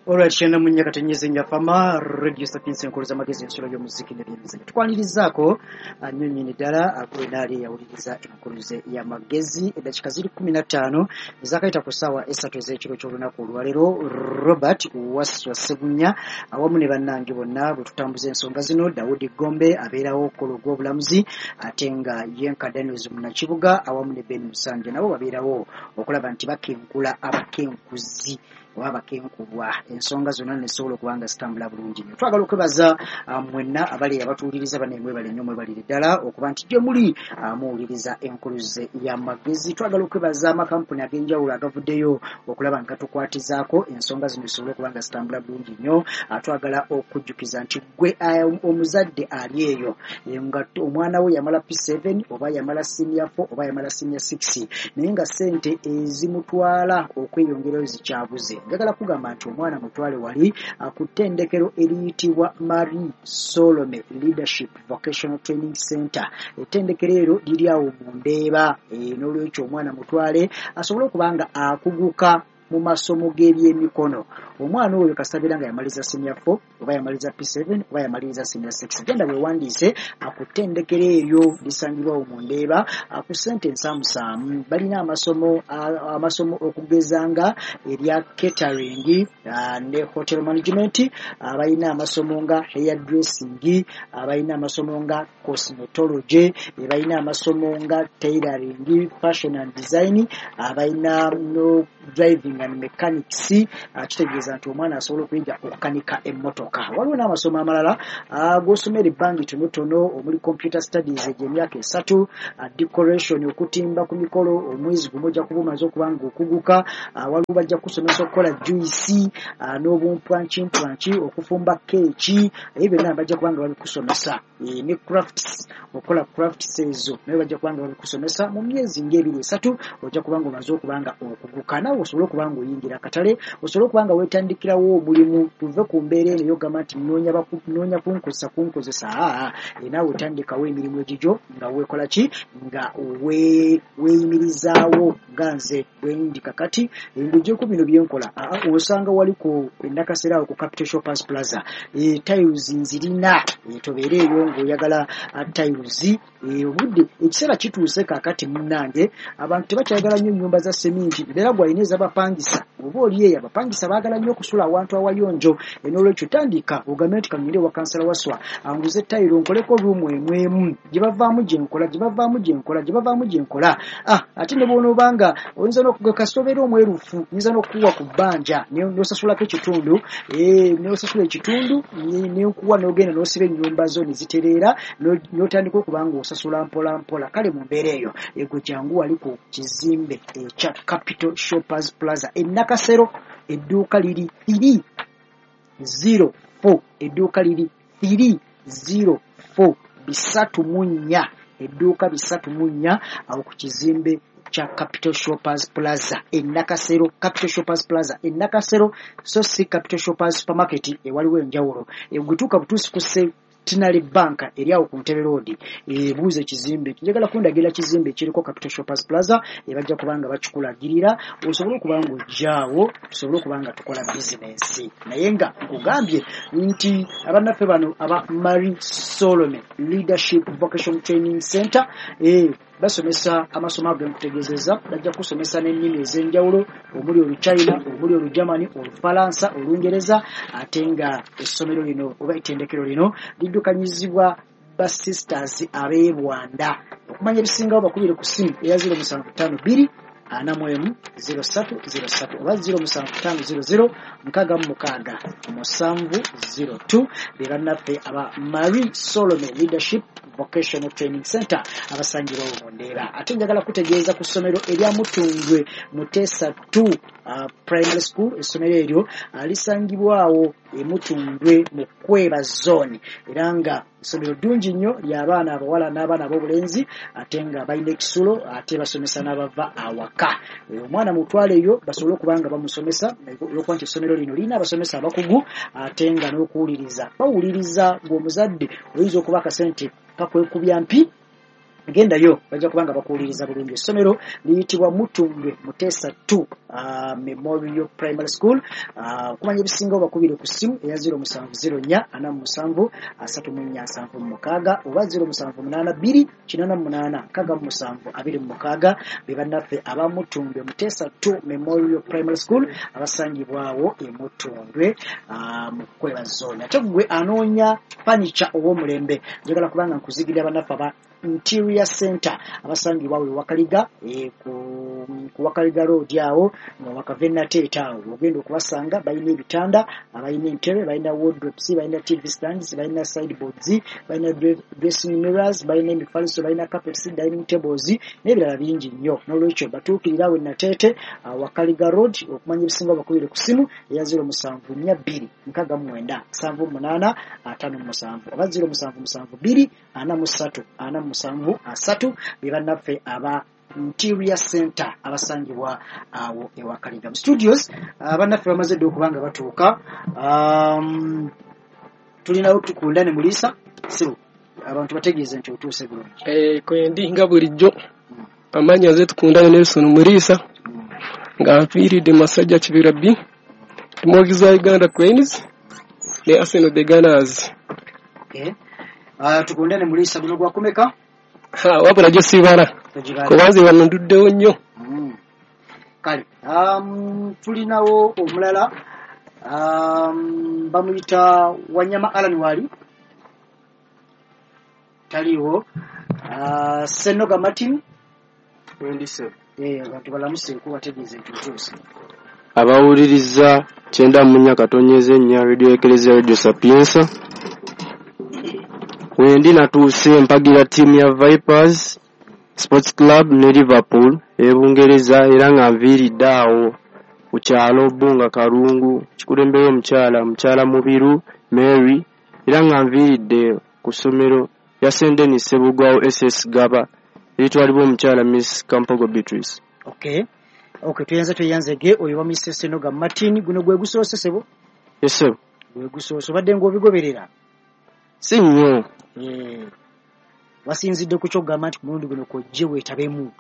Olwakishana mu nyaka tenyeze nyafama Radio Sapiens enkolo z'amagezi ensolo y'omuziki n'ebyemizannyo. Tukwanirizaako nnyo nnyini ddala gwe yawuliriza enkuluze y'amagezi. Eddakiika ziri 15 ezakayita ku ssaawa 3 ez'ekiro ky'olunaku olwaleero. Robert Wasswa Ssebunya awamu ne bannange bonna bwe tutambuza ensonga zino. Daudi Gombe abeerawo okukola ogw'obulamuzi, ate nga Yenka Daniels Munnakibuga awamu ne Ben Musanje nabo babeerawo okulaba nti bakenkula abakenkuzi oba abakenkubwa, ensonga zonna nezisobola okuba nga zitambula bulungi nnyo. Twagala okwebaza mwenna abali abatuwuliriza, bane mwebale nnyo, mwebalire ddala okuba nti gye muli muwuliriza enkuluze y'amagezi. Twagala okwebaza amakampuni ag'enjawulo agavuddeyo okulaba nga gatukwatizaako ensonga zino zisobole okuba nga zitambula bulungi nnyo. Twagala okujjukiza nti gwe omuzadde ali eyo nga omwana we yamala P7 oba yamala senior 4 oba yamala senior 6, naye nga ssente ezimutwala okweyongerayo zikyabuze, njagala kugamba nti omwana mutwale wali ku ttendekero eriyitibwa Marie Solome Leadership Vocational Training Center. Ettendekero eryo liri awo mu Ndeeba. N'olwekyo omwana mutwale asobole okuba nga akuguka mu masomo g'ebyemikono. Omwana oyo kasabira nga yamaliza senior 4 oba yamaliza P7 oba yamaliriza senior 6, genda weewandiise ku ttendekero eryo lisangibwawo mu Ndeeba ku ssente ensaamusaamu. Balina amasomo okugeza nga erya catering ne hotel management, balina amasomo nga hair dressing, balina amasomo nga cosmetology, balina amasomo nga tailoring, fashion and design, balina no driving and mechanics. Kitegeeza nti omwana asobola okuyiga okukanika emmotoka. Waliwo n'amasomo amalala g'osomera ebbanga ettonotono omuli computer studies egy'emyaka 3, decoration, okutimba ku mikolo, omwezi gumu ojja kuba omaze okuba nga okuguka. Waliwo bajja kusomesa okukola juice n'obumpwankimpwanki, okufumba keeki, ebyo byonna bajja kuba nga babikusomesa, ne crafts, okukola crafts ezo naye bajja kuba nga babikusomesa. Mu myezi ng'ebiri esatu ojja kuba nga omaze okuba nga okuguka, naawe osobole okuba nga oyingira akatale, osobole okuba nga weetandikirawo omulimu. Tuve ku mbeera eno ey'okugamba nti nnoonya kunkozesa. Naawe otandikawo emirimu egigyo nga weekola ki, nga weeyimirizaawo nga nze bwe ndi kakati ng'oggyeko bino byenkola. Osanga wali ku Nakasero awo ku Capital Shoppers Plaza, tiles nzirina, tobeere eyo ng'oyagala tiles. Obudde ekiseera kituuse kaakati munnange, abantu tebakyayagala nnyo nnyumba za seminti, mbeera gw'alina ez'abapangisa oba oli eyo abapangisa baagala nnyo okusula awantu awayonjo. N'olwekyo tandika ogambe nti kangende ewa Kansala Wasswa anguze tayiro nkoleko ruumu emu emu, gye bavaamu gye nkola, gye bavaamu gye nkola, gye bavaamu gye nkola. Ate ne bw'onoobanga oyinza n'okugwa kasita obeera omwerufu, nyinza n'okukuwa ku bbanja n'osasulako ekitundu, n'osasula ekitundu nenkuwa n'ogenda n'osiba ennyumba zo ne zitereera, n'otandika okuba nga osasula mpola mpola. Kale mu mbeera eyo egwe jangu wali ku kizimbe ekya Capital Shoppers Plaza e Nakasero, edduuka liri 304, edduuka liri 304, 304, edduuka 304 awo ku kizimbe kya Capital Shoppers Plaza e Nakasero, Capital Shoppers Plaza e Nakasero, so si Capital Shoppers Supermarket, ewaliwo enjawulo. Gwetuuka butuusi ku Centenary Bank eri awo ku Ntebe Road, ebuuza ekizimbe, njagala kundagira kizimbe ekiriko Capital Shoppers Plaza, bajja kuba nga bakikulagirira osobole okuba nga ojjaawo tusobole okuba nga tukola bizinensi. Naye nga nkugambye nti abannaffe bano aba Marie Solome Leadership Vocation Training Center basomesa amasomo ago nkutegeezezza, bajja kusomesa n'ennimi ez'enjawulo omuli Oluchina, omuli Olugermany, Olufalansa, Olungereza, ate nga essomero lino oba ettendekero lino liddukanyizibwa ba sisters ab'e Bwanda. Okumanya ebisingawo bakubire ku ssimu eya 0752 41 03 03 oba 075 00 66 702. Be bannaffe aba Marie Solome Leadership Vocational Training Center abasangibwawo mu Ndeeba. Ate njagala kutegeeza ku ssomero erya Mutundwe Muteesa 2 Primary School. Essomero eryo lisangibwawo e Mutundwe mu Kweba Zone, era nga essomero ddungi nnyo ly'abaana abawala n'abaana ab'obulenzi, ate nga balina ekisulo, ate basomesa n'abava awaka. Omwana mutwale eyo basobole okuba nga bamusomesa, olwokuba nti essomero lino lirina abasomesa abakugu, ate nga n'okuwuliriza bawuliriza. Ng'omuzadde oyinza okuba akasente kakwekubya mpi. Gendayo, bajja kubanga bakuwuliriza bulungi. Essomero liyitibwa Mutundwe Muteesa 2 Memorial Primary School. Okumanya ebisingawo bakubire ku ssimu eya 0704 47 34 76 oba 0782 88 67 26. Be bannaffe aba Mutundwe Muteesa 2 Memorial Primary School abasangibwawo e Mutundwe mu Kweba Zone. Ate gwe anoonya furniture ow'omulembe, njagala kubanga nkuzigirira bannaffe aba Interior Center abasangibwa we Wakaliga, ku Wakaliga Road awo nga wakava Nateete awo ogenda okubasanga. Balina ebitanda, balina entebe, balina wardrobes, balina TV stands, balina sideboards, balina dressing mirrors, balina emifaliso, balina carpets, dining tables n'ebirala bingi nnyo. N'olwekyo batuukirira awo e Nateete, Wakaliga Road. Okumanya ebisingawo bakubire ku ssimu eya 0742 69 78 57 oba 0772 43 47 3. Be bannaffe aba Interior Center abasangibwa awo e Wakaliga. Mu studios bannaffe bamaze dda okuba nga batuuka. Tulinawo Tukundane Mulisa. Sibu abantu bategeeze nti otuuse bulungi. Kwendi nga bulijjo, amannya nze Tukundane Nelson Muriisa, nga nfiiridde Masajja Kibira B, muwagizi wa Uganda Cranes ne Arsenal the Gunners. Okay. Tukundane Mulisa, guno gwakumeka? Wabula gyo sibala, kubanze wano nduddewo nnyo. Kale tulinawo omulala, bamuyita Wanyama Alan. Wali taliiwo. Senoga Martin. Abantu balamuseeko, bategeeze nti otuuse. Abawuliriza 94.4 Radio Eklezia, Radio Sapiensa, wendi natuuse mpagira ttiimu ya Vipers Sports Club ne Liverpool ey'Ebungereza, era nga nviiridde awo ku kyalo Bbunga Kalungu, kikulemberwa omukyala Mubiru Mary, era nga nviiridde ku ssomero lya St Denis Ssebugwawo SS Gaba eritwalibwa omukyala Miss Kampogo Beatrice. Okay, tweyanze, tweyanzege. Oyo bamuyise Senoga Martin. Guno gwe gusoose, sebo? Yes, sebo. Gwe gusoose. Obadde ng'obigoberera? Si nnyo. Wasinzidde ku kyokugamba nti ku mulundi guno kwojje weetabemu?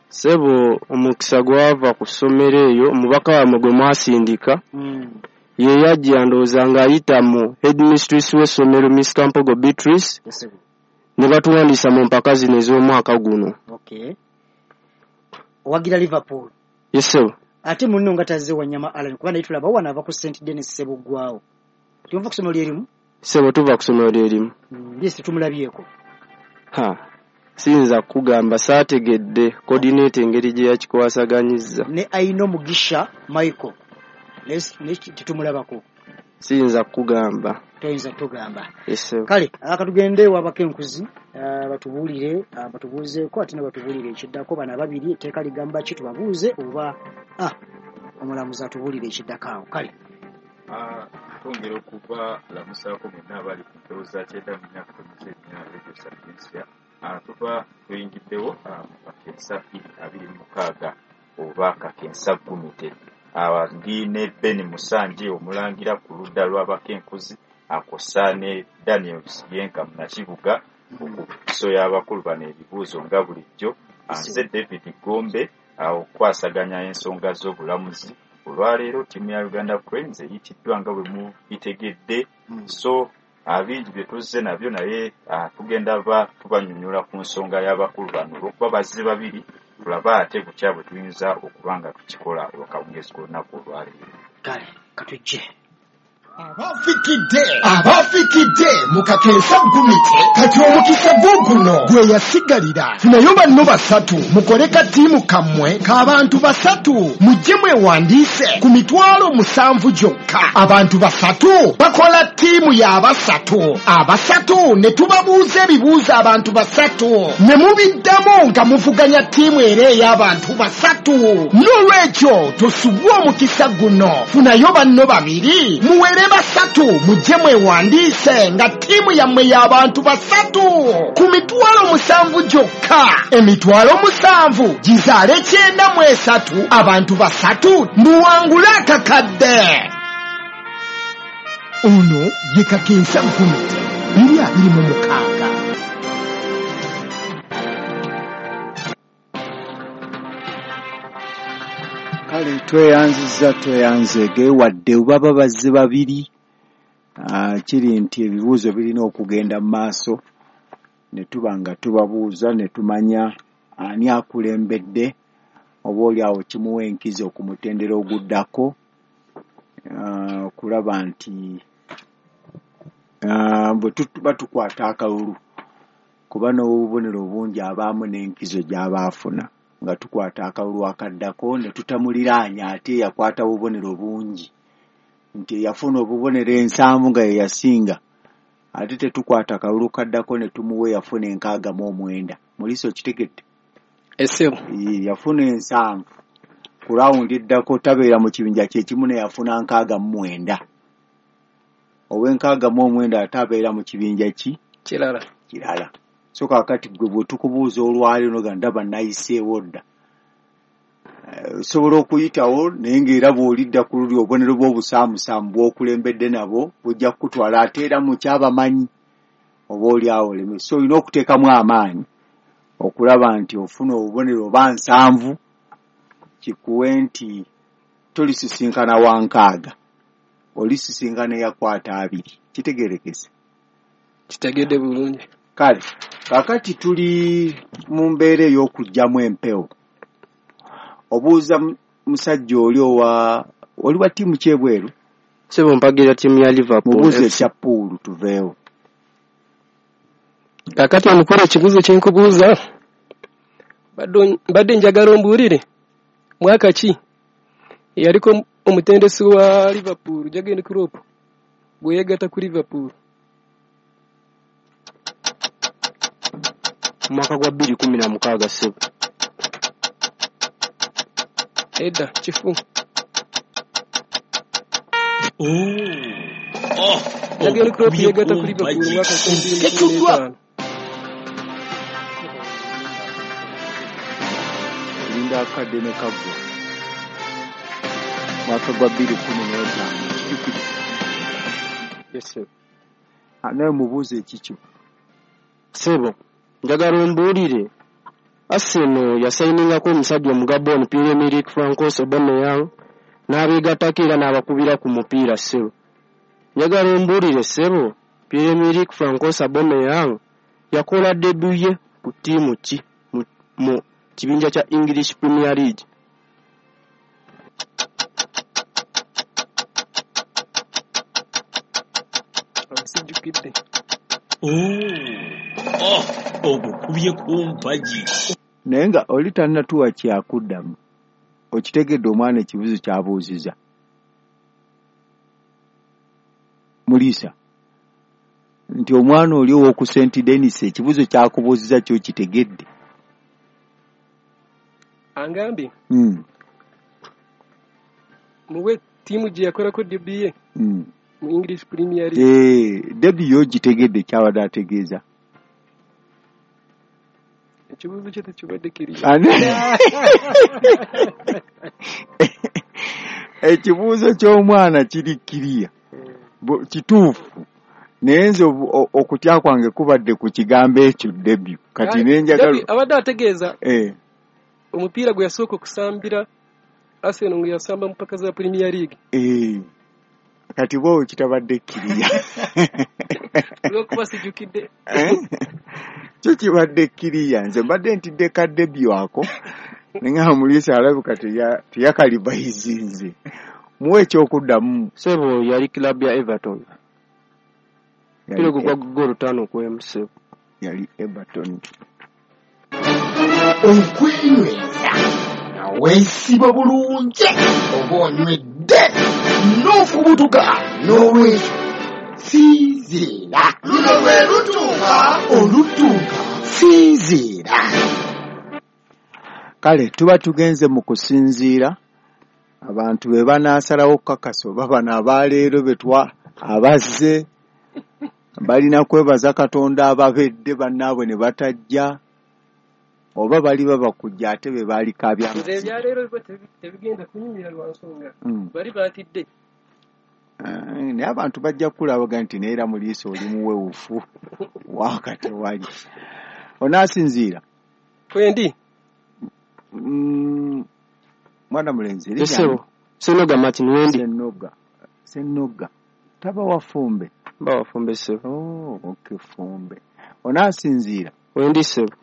Sebo, omukisa gwava ku ssomero eyo, omubaka wammwe gwe mwasindika ye yajja, ndowooza ng'ayita mu headmistress w'essomero Miss Kampogo Beatrice, ne batuwandiisa mu mpaka zino ez'omwaka guno. Okay. Owagira Liverpool? Yes, sebo. Ate munno nga tazze, Wanyama Alan, kuba naye tulaba wano ava ku St Denis Ssebuggwawo. Tuva ku ssomero lyerimu? Sebo, tuva ku ssomero lyerimu. Yes, tumulabyeko? Ha, siyinza kukugamba, saategedde coordinator engeri gye yakikwasaganyizza. Ne Aino Mugisha Michael naye tetumulabako? Siyinza kukugamba. Toyinza tugamba? Yes. Kale akatugende wabako enkuzi batubuulire, batubuuzeeko ate ne batubuulire ekiddako. Bano ababiri etteeka ligamba ki? Tubabuuze oba omulamuzi atubuulire ekiddako awo. Kale. Twongera okubalamusaako mwenna abali ku mpewo za 94.4 Radio Sapiensia. Tuba tuyingiddewo mu Kakensa 2026 oba Kakensa Gumite. Ndi ne Ben Musanje omulangira ku ludda lw'Abakenkuzi, akosa ne Daniel Siyenka Munakibuga okusoya abakulu bano ebibuuzo nga bulijjo. Nze David Gombe okukwasaganya ensonga z'obulamuzi. Olwaleero ttiimu ya Uganda Cranes eyitiddwa nga bwe mubitegedde, so bingi bye tuzze nabyo, naye tugenda ba tubanyonyola ku nsonga y'abakulu bano olw'okuba bazze babiri. Tulabe ate butya bwe tuyinza okuba nga tukikola olwakawungeezi k'olunaku olwaleero. Kale katujje. Abafikidde, abafikidde mu Kakensa Gumite, kati omukisa guguno gwe yasigalira. Funayo banno basatu, mukole katiimu kammwe k'abantu basatu, mujje mwewandiise ku 700,000 gyokka. Abantu basatu bakola ttiimu y'abasatu, abasatu ne tubabuuza ebibuuzo, abantu basatu ne mubiddamu nga muvuganya ttiimu era ey'abantu basatu. N'olwekyo tosubwa omukisa guno, funayo banno babiri, muwere basatu, mujje mwewandiise nga ttiimu yammwe y'abantu basatu ku 700,000 gyokka. 700,000 gizaale 93, abantu basatu, muwangule akakadde. Ono ye Kakensa Gumite 2026. Kale tweyanzizza, tweyanzeege. Wadde baba bazze babiri, kiri nti ebibuuzo birina okugenda mu maaso ne tuba nga tubabuuza ne tumanya ani akulembedde, oba oli awo kimuwa enkizo ku mutendera oguddako, okulaba nti bwe tuba tukwata akalulu, kuba n'obubonero bungi abaamu n'enkizo gy'aba afuna, nga tukwata akalulu akaddako ne tutamuliraanya ate yakwata obubonero bungi, nti yafuna obubonero 70 nga ye yasinga, ate tetukwata kalulu kaddako ne tumuwa yafuna 69. Muliisa okitegedde? Esebo. Yafuna 70 ku rawundi eddako tabeera mu kibinja kye kimu ne yafuna 69. Ow'e 69 ate abeera mu kibinja ki? Kirala. Kirala. So kaakati ggwe bwe tukubuuza olwaleero noga ndaba nayiseewo dda, osobola okuyitawo, naye ng'era bw'olidda ku luli obubonero bw'obusaamusaamu bw'okulembedde nabwo bujja kukutwala, ate era mu kyabamanyi oba oli awo oleme. So olina okuteekamu amaanyi okulaba nti ofuna obubonero oba 70, kikuwe nti tolisisinkana wa 60, olisisinkana eyakwata 20. Kitegeerekese? Kitegedde bulungi. Kale kaakati tuli mu mbeera ey'okuggyamu empewo. Obuuza musajja oli owa oli wa ttiimu ki ebweru? Ssebo, mpagira ttiimu ya Liverpool. Mubuuze FC. Ekya pool tuveewo. Kaakati omukolo, ekibuuzo kye nkubuuza, mbadde njagala ombuulire mwaka ki eyaliko omutendesi wa Liverpool Jurgen Klopp bwe yeegatta ku Liverpool? Mwaka gwa 2016, ssebo. Edda, kifu. Oh, Jurgen Klopp ogukubye yeegatta ku ku Liverpool mpagi. mwaka 2015. Linda akadde ne kaggwa. Mwaka gwa 2015, kijjukire. Yes, ssebo. Naye mubuuze ekikyo. Ssebo, njagala ombuulire, Arsenal yasayiningako omusajja Omugabon Pierre-Emerick Francois Aubameyang n'abeegattako era n'abakubira ku mupiira. Ssebo, njagala ombuulire, ssebo, Pierre-Emerick Francois Aubameyang yakola debut ye ku ttiimu ki mu kibinja kya English Premier League? Sijjukidde. Oh, ogukubye ku mpagi. Naye nga oli tannatuwa kyakuddamu, okitegedde omwana ekibuuzo ky'abuuzizza? Muliisa, nti omwana oli ow'oku St Denis ekibuuzo ky'akubuuzizza kyokitegedde? Angambye muwe ttiimu gye yakolako debut ye mu English Premier League. Debut yo ogitegedde ky'abadde ategeeza? Ekibuuzo kye tekibadde kiri. Ekibuuzo ky'omwana kiri kiriya, kituufu, naye nze okutya kwange kubadde ku kigambo ekyo debut. Kati ne njagala Debut abadde ategeeza omupiira gwe yasooka okusambira Arsenal nga yasamba mu mpaka za Premier League. Kati bwowe kitabadde kiriya. Olw'okuba sijjukidde. Kyo kibadde kiriya. Nze mbadde ntidde ka debut ako, naye nga Muliisa alabika teyakalibayizinze. Muwe ekyokuddamu. Ssebo, yali club ya Everton. Yali Mupiira gwe gwa ggoolo 5-1, ssebo. Yali Everton. Okwenyweza nga weesiba bulungi oba onywedde n'ofubutuka, n'olwekyo sinziira. Luno lwe lutuuka olutuuka, sinziira. Kale tuba tugenze mu kusinziira, abantu be banaasalawo okukakasa oba bano abaleero betwa abazze balina kwebaza Katonda ababedde bannaabwe ne batajja, oba bali babakujja ate be baalikaabya. Nze ebyaleero biba tebigenda kunyumira lwa nsonga bali batidde. Naye abantu bajja kukulabaga nti naye era Muliisa oli muwewufu waaka tewali onaasinziira. Kwendi. Mwana mulenzi erinnya Esebo Senoga Martin Wendi. Senoga. Senoga. Taba wafumbe. Mba wafumbe sebo. Oh, okay, fumbe. Onaasinziira. Wendi sebo.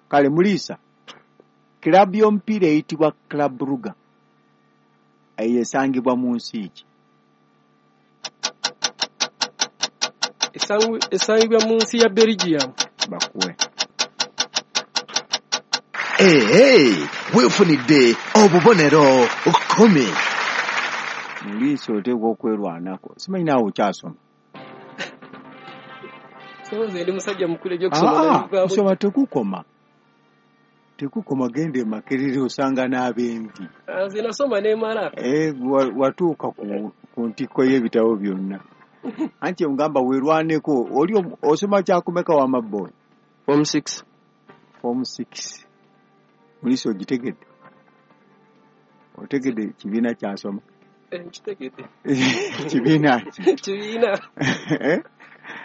Kale Muliisa, kiraabu y'omupiira eyitibwa Club Brugge eyo esangibwa mu nsi ki? Esangibwa mu nsi ya Belgium. Bakuwe. Ee, weefunidde obubonero 10. Muliisa oteekwa okwerwanako. Simanyi naawe okyasoma. So nze ndi musajja mukulu ebyokusoma nabivaako. Kusoma tekukoma. Tekukoma, genda e Makerere osanga n'ab'envi. Nze nasoma nemala. Watuuka ku ntikko y'ebitabo byonna. Anti ngamba weerwaneko, oli osoma kyakumeka wa maboy? Form 6. Form 6. Muliisa ogitegedde? Otegedde kibiina kyasoma? Nkitegedde. Kibiina ki? Kibiina. Eh?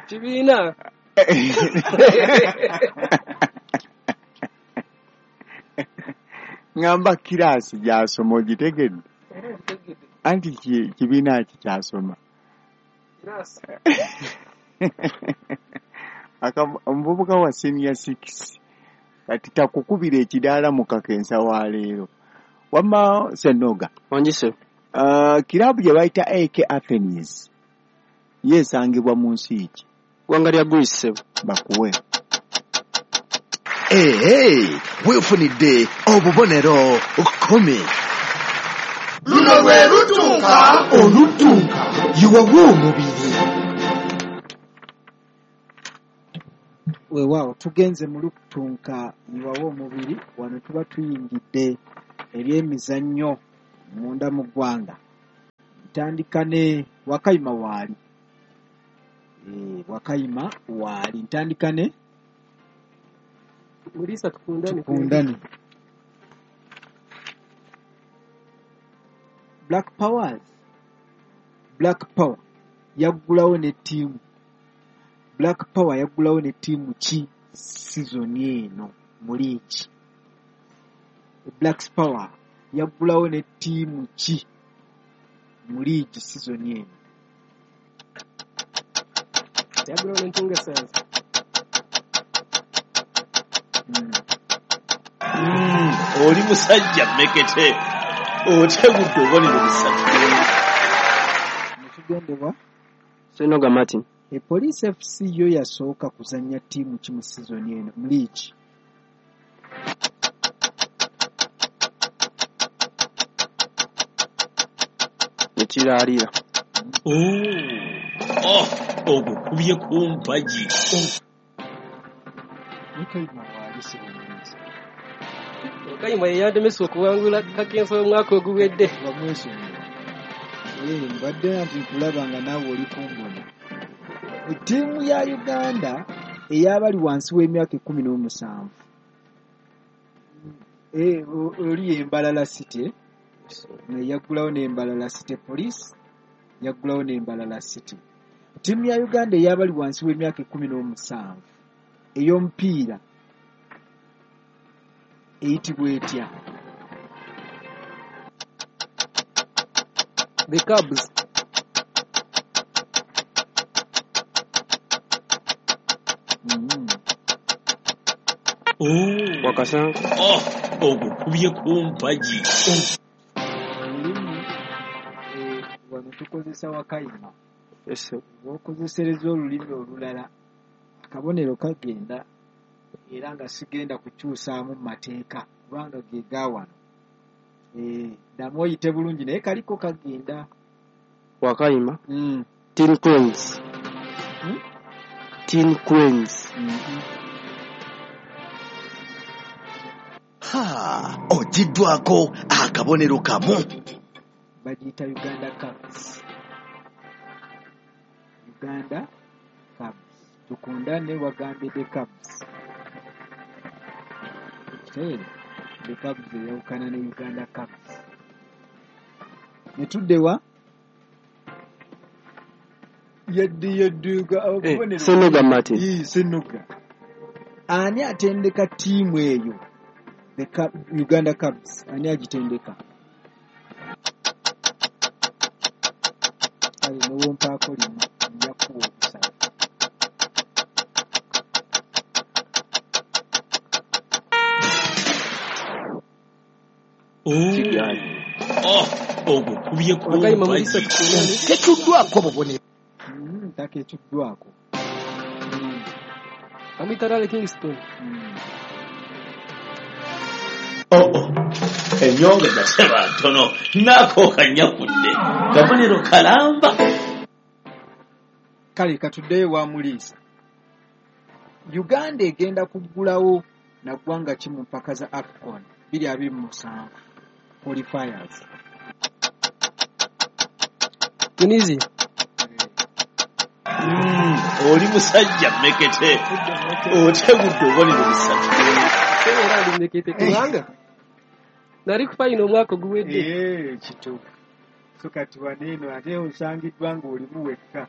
Kibiina. Ngamba kiraasi gy'asoma ogitegedde? Nkitegedde. Anti kibiina ki kyasoma? Kiraasi. Omuvubuka wa senior 6 kati takukubira ekidaala mu kakensa wa leero. Wamma Senoga. Wangi sebo. Kiraabu gye bayita AK Athens ye esangibwa mu nsi ki? Ggwanga lya Greece sebo. Bakuwe. Ee, weefunidde obubonero 10. Luno lwe lutuuka oluttunka yiwawo omubiri. Weewaawo tugenze mu lutunka yiwawo omubiri. Wano tuba tuyingidde ebyemizannyo munda mu ggwanga. Ntandika ne Wakayima waali. Wakayima waali. Ntandika ne Muliisa tukundane. Tukundane. Black Powers. Black Power yaggulawo ne ttiimu. Black Power yaggulawo ne ttiimu ki sizoni eno mu liigi? Black Power yaggulawo ne ttiimu ki mu liigi sizoni eno? Yaggulawo ne Ntungasanze. Oli musajja mmekete otegudde obubonero 3. Netugendebwa Senoga Martin. Police FC yo yasooka kuzannya ttiimu ki mu sizoni eno mu liigi? Ekiraalira. Ogukubye ku mpagi. Wakayima waali sibulungi. Wakayima ye yandemesa okuwangula kakensa omwaka oguwedde. Bamwesonyiwa. Mbadde nti nkulaba nga naawe oli kumbona. Ttiimu ya Uganda ey'abali wansi w'emyaka 17. Oli Embalala City. Yaggulawo n'Embalala City Police. Yaggulawo n'Embalala City. Ttiimu ya Uganda ey'abali wansi w'emyaka 17 ey'omupiira eyitibwa etya? The Cubs. Wakasanku. Ogukubye ku mpagi. Olulimi wano tukozesa Wakayima. Esebo. Bw'okozesereza olulimi olulala akabonero kagenda, era nga sigenda kukyusaamu mu mateeka kubanga ge ga wano. Ddamu oyite bulungi naye kaliko kagenda. Wakayima. Teen Queens. Teen Queens. Ha, ogiddwako akabonero kamu. Bagiyita Uganda Cubs. Uganda Cubs. Tukundane wagambye the Cubs. The Cubs eyawukana ne Uganda Cubs. Ne tuddewa yadde obubonero. Senoga Martin. Senoga. Ani atendeka ttiimu eyo? The Uganda Cubs. Ani agitendeka? Kale newompaako limu nja kukuwa obusatu. Oh, ogukubye ku Wakayima mpagi. Mulisa tukundane. Tetuddwako bubonero. Taketuddwako. Bamuyita Rale Kingston. Oh, ennyongeza teba ntono naako kanyakudde kabonero kalamba. Kale katuddeyo wa Muliisa. Uganda egenda kuggulawo na ggwanga ki mu mpaka za AFCON 2027 qualifiers? Tunisia. Oli musajja mmekete otegudde obubonero busatu. Era ndi mmekete kubanga nali ku fayino omwaka oguwedde. Kituufu. So kati wano eno ate osangiddwa ng'olimu wekka.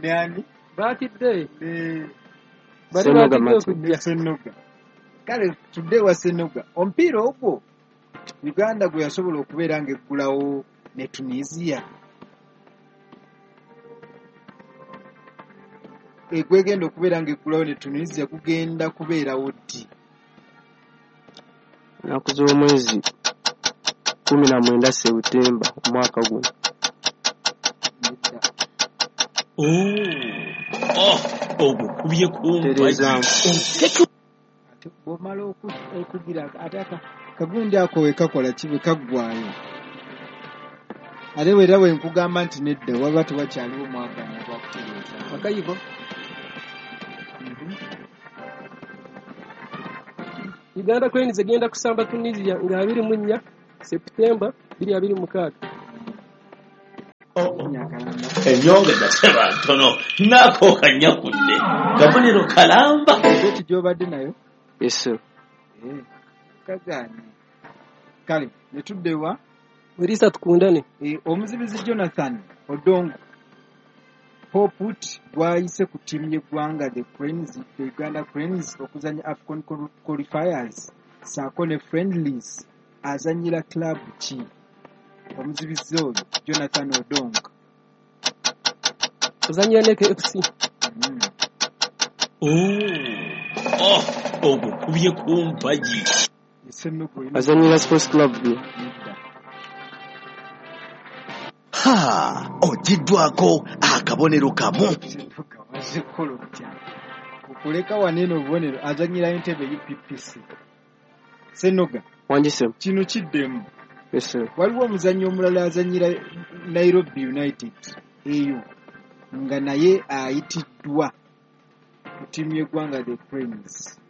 Nani? Baatidde. Ne Bali Senoga baatidde Martin. okujja. Senoga. Kale tudde wa Senoga. Omupiira ogwo Uganda gwe yasobola okubeera ng'eggulawo ne Tunisia. Gwegenda okubeera ng'eggulawo ne Tunisia gugenda kubeerawo ddi? Ennaku z'omwezi 19 September omwaka guno. Nedda. Oh, ogukubye ku mpagi. Tereezaamu. Ate bw'omala okugira ate kagundi ako we kakola ki bwe kaggwaayo. Ate era bwe nkugamba nti nedda waba tewakyaliwo mwaganya gwa kutereeza. Wakayivo. Uganda Cranes egenda kusamba Tunisia nga 24 September 2026. Oh, ennyongeza teba ntono naako kanyakudde kabonero kalamba. Beti gy'obadde nayo? Yes sir. Kagaanye. Kale ne tudda ewa Mulisa tukundane. Omuzibizi Jonathan Odongo Poput gwayise ku ttiimu y'eggwanga the Cranes, the Uganda Cranes okuzannya AFCON qualifiers ssaako ne friendlies azannyira club ki? Omuzibizi oyo Jonathan Odongo. Ozannyira Neke FC. Oh, ogukubye ku mpagi. Senoga olina Azannyira Sports Club B. nedda. Ha, ogiddwako akabonero kamu. Senoga wazze kukola otya? Okuleka wano eno obubonero azannyira Entebbe UPPC. Senoga Wangi ssebo. kino kiddemu. Yes sir. Waliwo omuzannyi omulala azannyira Nairobi United eyo nga naye ayitiddwa ku ttiimu y'eggwanga the Cranes.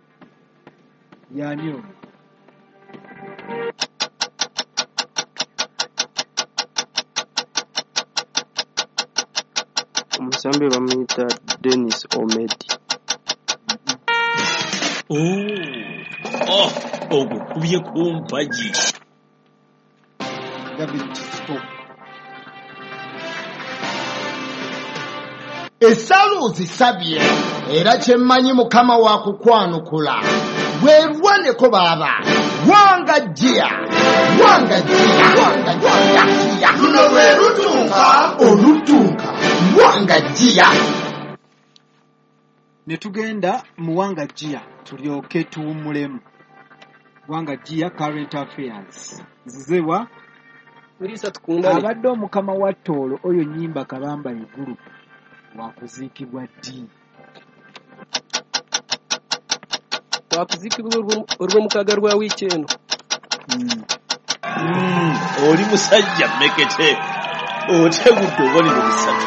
Y'ani oyo? Omusambi bamuyita Dennis Omedi. Oh, ogukubye ku mpagi. Gavin Kizito. Essala ozisabye era kye mmanyi Mukama wa kukwanukula. Weerwaneko baaba. Wanga jjiya. Wanga jjiya. Wanga jjiya. Luno lwe lutunka olutunka. Wanga jjiya. Ne tugenda mu Wanga Jjiya tulyoke tuwummulemu. Wanga Jjiya current affairs. Nzizewa Mulisa tukundane. abadde omukama wa Tooro oyo Nnyimba Kabamba Iguru wakuziikibwa ddi? Wakuziikibwa olw'omukaaga lwa wiiki eno. Oli musajja mmekete otegudde obubonero busatu.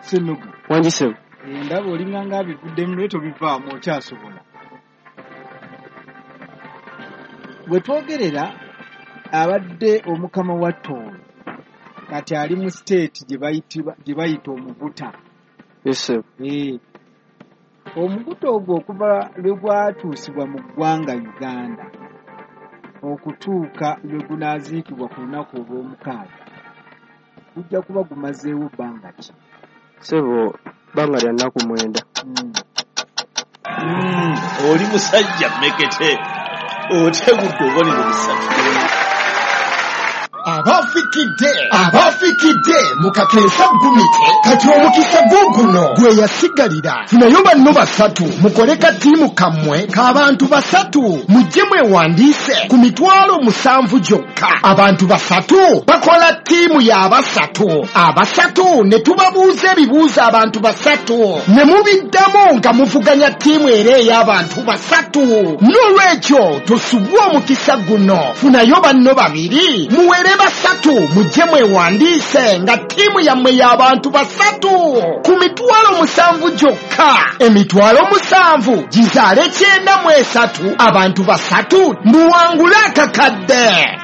Senoga. Wangi ssebo. Ndaba olinga ng'abivuddemu naye tobivaamu okyasobola. Bwe twogerera abadde omukama wa Tooro kati ali mu state gye bayita omuguta. Yes sir. Omuguta ogwo okuva lwe gwatuusibwa mu ggwanga Uganda okutuuka lwe gunaaziikibwa ku lunaku olw'omukaaga gujja kuba gumazeewo bbanga ki? Ssebo bbanga lya nnaku 9. Oli musajja mmekete otegudde obubonero busatu. Abafikidde abafikidde mu kakensa gumite kati omukisa guguno gwe yasigalira. Funayo banno basatu mukole katiimu kammwe k'abantu basatu, mujje mwewandiise ku 70,000 gyokka. Abantu basatu bakola ttiimu y'abasatu, abasatu ne tubabuuza ebibuuzo abantu basatu ne mubiddamu nga muvuganya ttiimu era ey'abantu basatu. N'olwekyo tosubwa omukisa guno, funayo banno babiri muwere basatu, mujje mwewandiise nga ttiimu yammwe y'abantu basatu ku 70,000 gyokka. 70,000 gizaale 93, abantu basatu muwangule akakadde.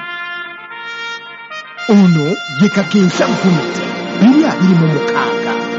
Ono ye Kakensa Gumite 2026.